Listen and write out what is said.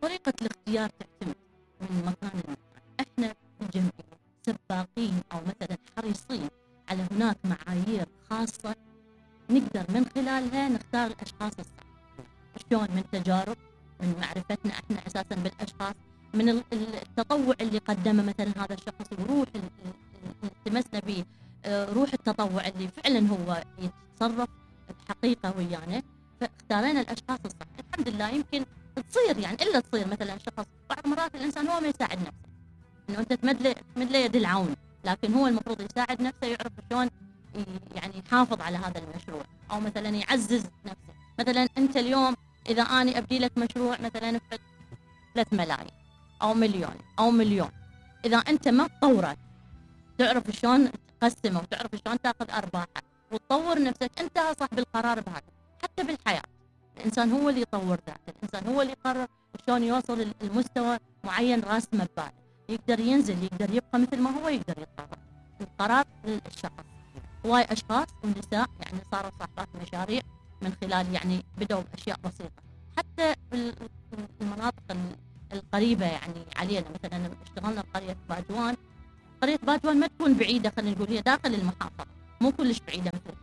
طريقة الاختيار تعتمد من مكان لمكان. احنا الجمعية سباقين او مثلا حريصين على هناك معايير خاصة نقدر من خلالها نختار الاشخاص الصح. شلون؟ من تجارب، من معرفتنا احنا اساسا بالاشخاص، من التطوع اللي قدمه مثلا هذا الشخص، وروح التمسنا به، روح التطوع اللي فعلا هو يتصرف بحقيقة ويانا، فاختارينا الاشخاص الصح. الحمد لله يمكن تصير يعني الا تصير مثلا شخص بعض مرات الانسان هو ما يساعد نفسه، انه انت تمد له يد العون، لكن هو المفروض يساعد نفسه، يعرف شلون يعني يحافظ على هذا المشروع، او مثلا يعزز نفسه. مثلا انت اليوم اذا اني ابدي لك مشروع مثلا ب 3 ملايين او مليون او مليون، اذا انت ما تطوره تعرف شلون تقسمه وتعرف شلون تاخذ ارباحه وتطور نفسك، انت صاحب القرار بهذا. حتى بالحياه الانسان هو اللي يطور ذاته، الانسان هو اللي يقرر شلون يوصل لمستوى معين راسمه بباله، يقدر ينزل، يقدر يبقى مثل ما هو، يقدر يتطور. القرار للشخص. هواي اشخاص ونساء يعني صاروا صاحبات مشاريع من خلال يعني بدأوا باشياء بسيطه، حتى المناطق القريبه يعني علينا. مثلا اشتغلنا بقريه باجوان. قريه باجوان ما تكون بعيده، خلينا نقول هي داخل المحافظه، مو كلش بعيده مثل